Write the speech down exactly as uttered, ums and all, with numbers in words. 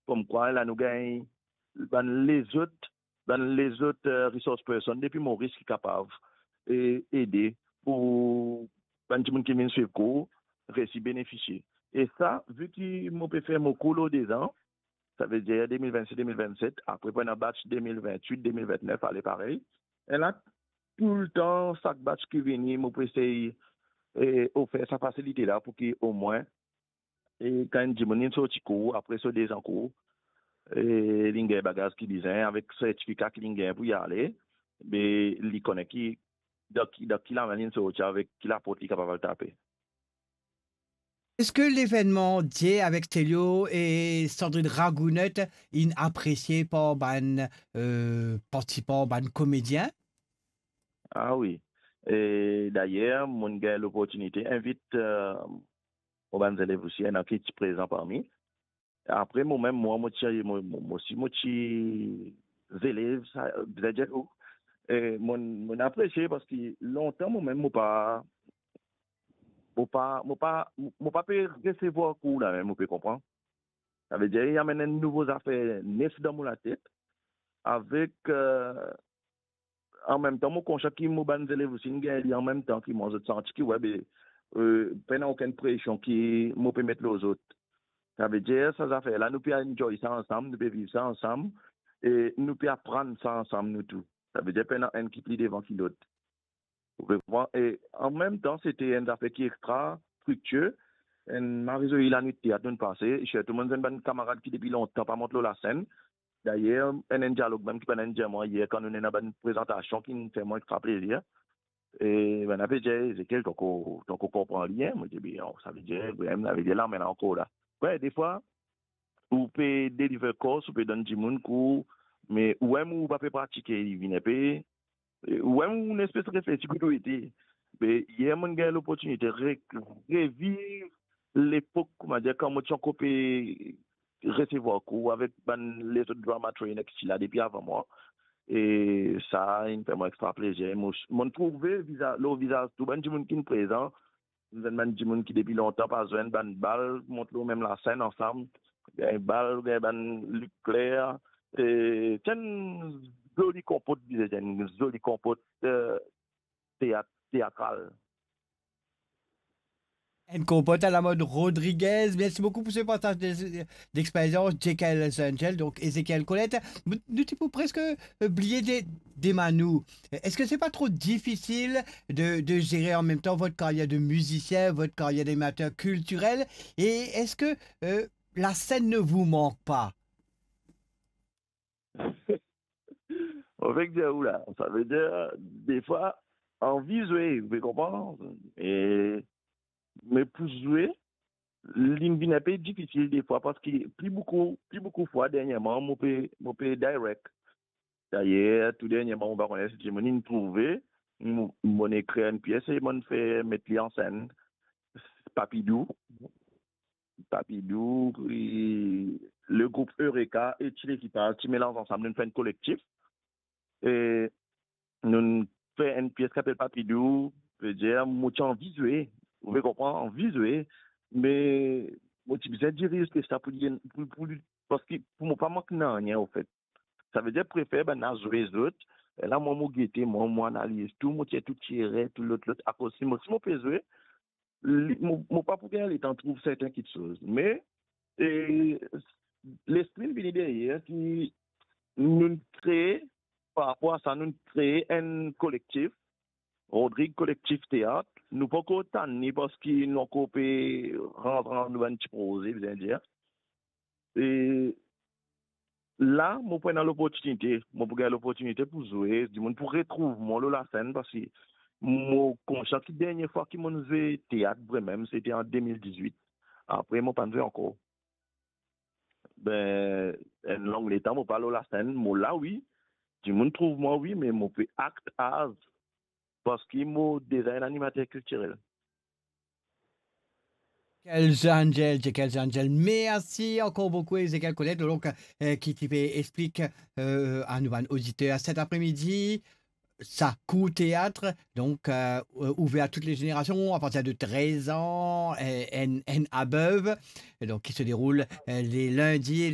komkwa la nou gagn bann lezot, bann lezot, eh, resource person depi Moris ki kapav, eh, ede pou bann dimoun ki vinn swiv kour resi benefisie. E sa, vi ki mo pe fer mo kour lor dezan, savedir de mil vennsis, de mil vennset, apre pou ena batch de mil vennwit, de mil vennef, ale parey. E la, toultan, sak batch ki vini, mo pou esey, eh, ofer sa fasilite la pou ki omwin, eh, kan enn dimoun inn sorti kour, apre so dezan kour, eh, li'nn gagn bagaz ki bizin, avek sertifika ki li'nn gagn pou li ale, be li kone ki, dan ki, dan ki lame li'nn sorti, avek ki laport li kapav al tape. Eski levennman Die avek Stelio e Sandrine Ragounette inn apresie par bann, eh, partisipan, bann komedien? Ah wi. E dayer, mo'nn gagn loportinite invit, eh, mo bann zelev osi, ena ki ti prezan parmi. Apre, momem, mwa, mo ti, mo, mo, mo osi, mo ti zelev, sa, vedir, eh, mo'nn, mo'nn apresie parski lontan, momem, mo pa, mo pa, mo pa, mo pa pe resevwar kour la mem, mo pe konpran. Savedir, li amenn enn nouvo zafer nef dan mo latet, avek, eh, anmemtan, mo konsian ki mo bann zelev osi inn gagn li anmemtan ki mwa, zot santi ki, we, be, eh, pena okenn presion ki mo pe met lor zot. Savedir, sa zafer la, nou pe enjoy sa ansam, nou pe viv sa ansam, e nou pe aprann sa ansam, nou tou. Savedir, pena enn ki pli devan ki lot. Ou pe konpran? E anmemtan, se ti enn zafer ki extra striktir. Enn mari zoli lanwit teat nou'nn pase, e sirtou mo'nn enn bann kamarad ki depi lontan pa mont lor lasenn. Dayer, enn, enn dialog mem ki bann inn dir mwa yer, kan nou ena bann prezantasion ki'nn fer mwa extra plezir. E bann la pe dir, "Ezekiel, to ankor, to ankor konpran li, en?" Mo dir, "Be non, savedir, vremem, savedir, lame la ankor la." We, defwa, ou pe deliver course, ou pe donn dimoun kour, me ou mem ou pa pe pratike, li vinn inpe, ou mem ou nespes reflesi kot ou ete. Me yer, mo'nn gagn loportinite re-, reviv lepok, koumadir, kan mo ti ankor pe resevwar kour avek bann lezot drama trainer ki ti la depi avan mwa. E sa inn fer mwa extra plezir. Mo, mo'nn trouve viza-, lor vizaz tou bann dimoun ki'nn prezan, nou enn bann dimoun ki depi lontan pa zwenn, bann bal mont lor mem lasenn ansam, gagn bal, gagn bann lik kler, e ti enn zoli konpot, bizin dir enn zoli konpot, eh, teat, teatral. Enn konpot alamod Rodriguez. Mersi boukou pou se partaz de, dexperyans, Jekyll Angel, donk Ezekiel Colette. Nou, nou ti pou preske, eh, bliye de, de Manou. Eski se pa tro difisil de, de zere an mem tan vot karyer de mizisien, vot karyer d'animater kiltirel? E eski, eh, la scène ne vous manque pas? Mo fek dir ou la, savedir, defwa, anvi zwe, ou pe konpran? E, me pou zwe, li vinn inpe difisil defwa, parski pli boukou, pli boukou fwa dernyerman, mo pe, mo pe direct. Dayer, tou dernyerman, mo pa kone si dimoun inn trouve, mo, mo'nn ekrir enn pies e mo'nn fer met li an senn. Papidou. Papidou, e, legroup Eureka e Ti Lekipaz ti melanz ansam, nou'nn fer enn kolektif. E nou'nn fer enn pies ki apel Papidou, vedir, mo ti anvi zwe, ou pe konpran, anvi zwe, me mo ti bizin diriz pies la pou li, pou, pou li, parski pou mo pa mank nanye, anfet. Savedir, prefer bann la zwe zot, e la, mwa, mo gete, mwa, mo analiz tou, mo tir tou ti erer, tou lot, lot, akoz si mo, si mo pe zwe, li, mo, mo pa pou gagn letan trouv serten kitsoz. Me, e, lespri vini deryer ki nou'nn kree, par rapor a sa, nou'nn kree enn kolektif, Rodrig Kolektif Teat. Nou pankor tann li parski nou ankor pe rant dan nou bann ti proze, bizin dir. E la, mo pou ena loportinite, mo pou gagn loportinite pou zwe, dimoun pou retrouv mwa lor lasenn, parski mo konsian ki dernie fwa ki mo'nn zwe teat vremem, sete an de mil dizwit. Apre, mo pa'nn zwe ankor. Be, enn long letan, mo pa lor lasenn, mo la, wi. Dimoun trouv mwa, wi, me mo pe act as, parski mo deza enn animater kiltirel. Jekyll Angel, Jekyll Angel. Mersi ankor boukou, Ezekiel Colette, donk, eh, ki ti pe explik, eh, a nou bann oditer set apremidi, sa kour teat, donk, eh, ouver a tout le zenerasion, a partir de trez an, eh, and, and above, e donk ki se deroul, eh, le lindi e le